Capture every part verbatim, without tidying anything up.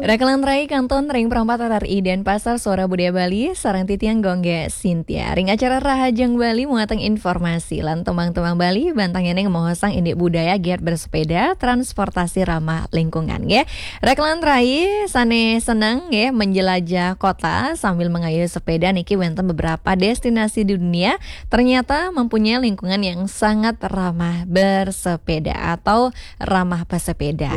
Rakelan rai kantun ring Pro empat R R I Denpasar, Suara Budaya Bali, sareng titiang Gung Sintia. Ring acara Rahajeng Bali muatang informasi lan tembang-tembang Bali, bantang nyaning maosang indik budaya giat bersepeda, transportasi ramah lingkungan, nggih. Rakelan rai sane seneng, nggih, menjelajah kota sambil mengayuh sepeda niki wenten beberapa destinasi di dunia ternyata mempunyai lingkungan yang sangat ramah bersepeda atau ramah pesepeda.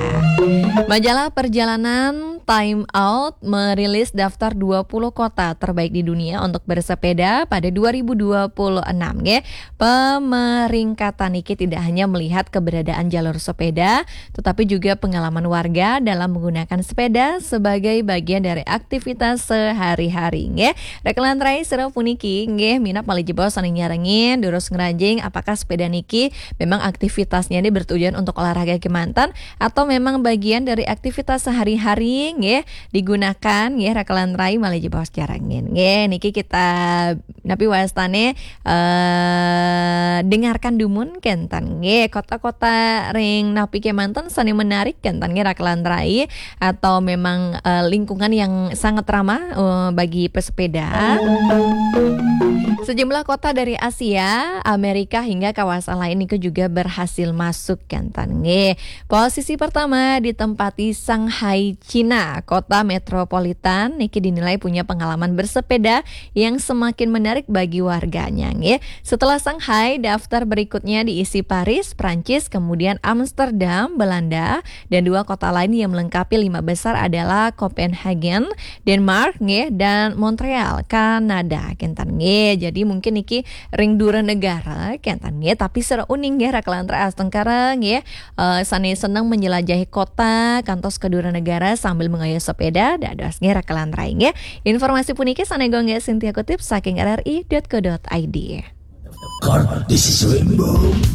Majalah perjalanan Time Out merilis daftar dua puluh kota terbaik di dunia untuk bersepeda pada dua ribu dua puluh enam, nggih. Pemeringkatan niki tidak hanya melihat keberadaan jalur sepeda, tetapi juga pengalaman warga dalam menggunakan sepeda sebagai bagian dari aktivitas sehari-hari, nggih. Rakelan rai sira puniki, nggih, minab malih jebos sane nyarengin, durus ngranjing, apakah sepeda niki memang aktivitasnya ini bertujuan untuk olahraga kemanten atau memang bagian dari aktivitas sehari-hari, nggih, digunakan, nggih, rakelan rai malih jebos nyarengin. Nggih, niki kita napi wastane, eh, dengarkan dumun kenten, nggih, kota-kota ring napi kemanten sane menarik kenten, nggih, rakelan rai, atau memang, eh, lingkungan yang sangat ramah, eh, bagi pesepeda. Sejumlah kota dari Asia, Amerika, hingga kawasan lain niku juga berhasil masuk kenten, nggih. Posisi pertama ditempati Shanghai, Cina. Kota metropolitan niki dinilai punya pengalaman bersepeda yang semakin menarik bagi warganya, nggih. Setelah Shanghai, daftar berikutnya diisi Paris, Prancis, kemudian Amsterdam, Belanda, dan dua kota lain yang melengkapi lima besar adalah Copenhagen, Denmark, nggih, dan Montreal, Kanada, kenten, nggih. Jadi mungkin niki ring dura negara, kenten, nggih, tapi sira uning, nggih, rakelan rai astungkara, nggih, eh, sane seneng menjelajahi kota kantos ke dura negara sambil mengayuh sepeda, dados, nggih, rakelan rai, nggih. Informasi puniki sane Gung Sintia kutip saking R R I dot co dot I D. This is Rainbow.